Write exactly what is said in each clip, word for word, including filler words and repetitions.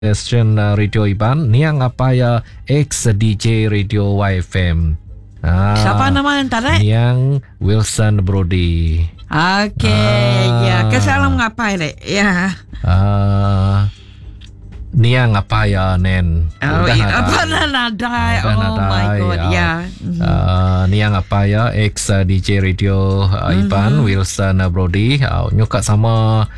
Stesen Radio Iban niang apai iya ex D J Radio Y F M. Ah, siapa nama yang tarik? Niang Wilson Brody. Okey, ah. Ya, kesalam ngapai lek. Ya. Ah. Niang apa ya nen? Oh, udah ya, nadai. Apa nadai? Udah oh nadai, my god, ya. Ya. Uh, niang apa ya ex D J Radio uh, Iban mm-hmm. Wilson Brody uh, nyuka sama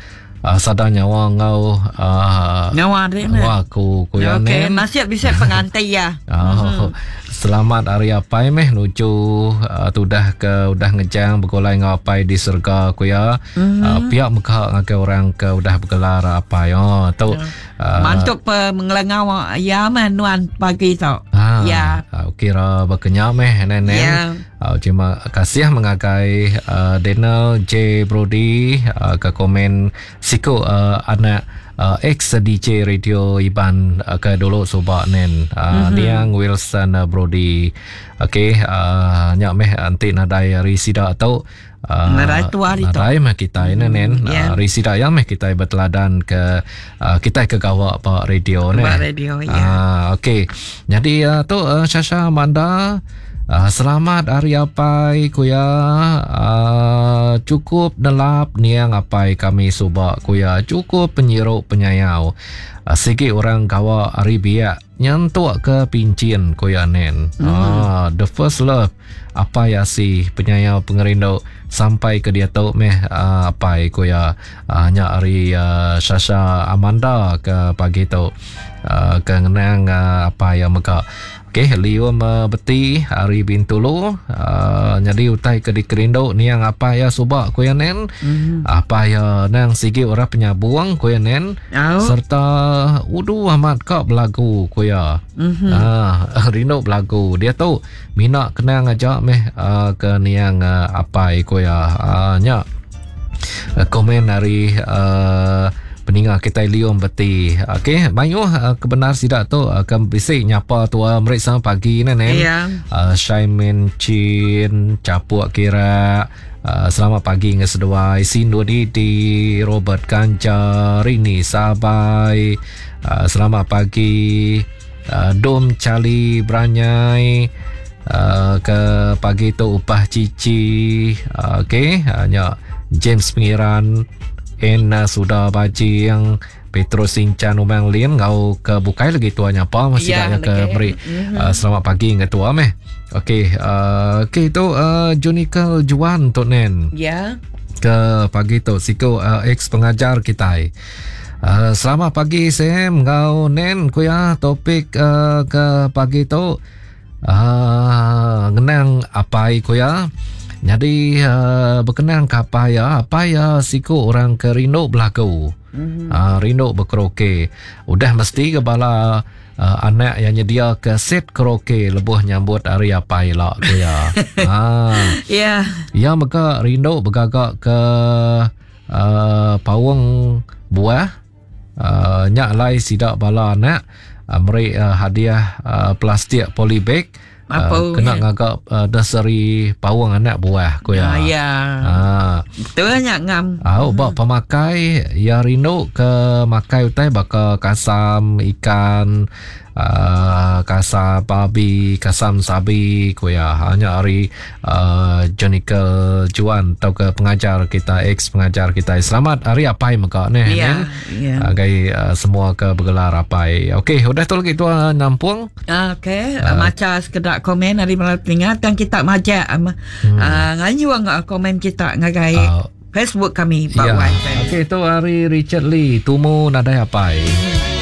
Uh, sadar nyawa ngau uh, nyawa dek nyawa aku ku ya okay. nen. Nasib bisa pengantin ya. Oh, mm-hmm. Selamat hari apai meh nuju uh, tudah ke udah ngejang begulai ngau apai di surga ku ya. Mm-hmm. Uh, pihak meka ngagai orang ke udah bergelar apai. Oh tu yeah. uh, mantuk pe mengelengau ya manuan pagi tu. Ah, ya. Uh, kira berkenyam meh nenek. Ya. Uh, terima kasih mengagai uh, Daniel J Brody uh, ke komen siku uh, anak uh, ex D J Radio Iban uh, ke dulu subak nen uh, mm-hmm. niang Wilson uh, Brody. Okey, uh, nyak meh anti nadai hari sida tu uh, nadai tua hari tu. Nadai meh kita mm-hmm. nen. Yeah. Uh, hari sida yang meh kita berteladan ke uh, kita ke gawak pak radio nen. Pak radio ya. Uh, okey. Jadi uh, tu uh, Shasha Amanda. Uh, selamat hari apai kuya. Uh, cukup nelap niang apai kami subak kuya. Cukup penyiruk penyayau. Uh, sigi orang gawa hari biak nyentuk ke pincin kuya nen. Mm. Uh, the first love apai asi penyayau pengerindu sampai ke dia tu meh uh, apai kuya. Uh, nyak hari uh, Shasha Amanda ke pagi tu uh, ke ngenang uh, apai yang mega. Okey, lium uh, beti hari Bintulu uh, jadi utai ke dikerindu niang apa ya subak kuya nen. Mm-hmm. Apa ya nang sigi orang penyabuang kuya nen. Oh. Serta udu amat kak belagu kuya. Mm-hmm. Ah, rindu belagu. Dia tu minat kenang aja meh uh, ke niang uh, apai kuya. Uh, nyak uh, komen hari uh, peninga kita lium beti. Okey, mayuh uh, kebenar sidak tu uh, ke bisi nyapa tua meriksa pagi ni nen. Ya. Uh, Shaimin Chin, Capuk Kira. Uh, selamat pagi nge seduai Sindu Didi, Robert Kanja, Rini Sabai. Uh, selamat pagi uh, Dom Cali Branyai. Uh, ke pagi tu Upah Cici. Uh, okey, uh, nyak James Pengiran Ena sudah baji yang Petrus Sinchan Umang Lin ngau ke bukai lagi tuanya apa masih ya, daknya ke beri mm-hmm. uh, selamat pagi nge tua meh. Okey, uh, okey tu uh, Junikal Juan tu nen. Ya. Ke pagi tu siku uh, ex pengajar kita. Uh, selamat pagi Sam ngau nen kuya topik uh, ke pagi tu uh, ngenang apai kuya. Jadi uh, berkenang ke apa ya, apa ya siku orang ke rindu belagu. Mm-hmm. Uh, rindu berkaraoke. Udah mesti ke bala uh, anak yang nyedia ke set karaoke lebuh nyambut hari apai lak ku ya. Ha. Ya. Ya mega rindu bergagak ke uh, paung buah. Uh, nyak lai sidak bala anak uh, meri uh, hadiah uh, plastik polybag. Apa uh, kena ya? ngagak uh, nursery paung anak buah ku ya. Ah, ya. Ha. Betul nyak ngam. Ah, uh, bak pemakai ya rindu ke makai utai baka kasam ikan, uh, kasam babi, kasam sabi ku ya. Hanya hari uh, Jonica Juan atau ke pengajar kita, ex pengajar kita. Selamat hari apai mega ni. Ya. Ya. Uh, gai uh, semua ke bergelar apai. Okey, udah tu lagi tuan nampung. Ah, okey, uh, macam sekedar komen dari malam telinga dan kita majak um, hmm. uh, nganyuang uh, komen kita ngagai uh, Facebook kami Pak ya. Wan. Okey, tu hari Richard Lee tumu nadai apai. Hmm.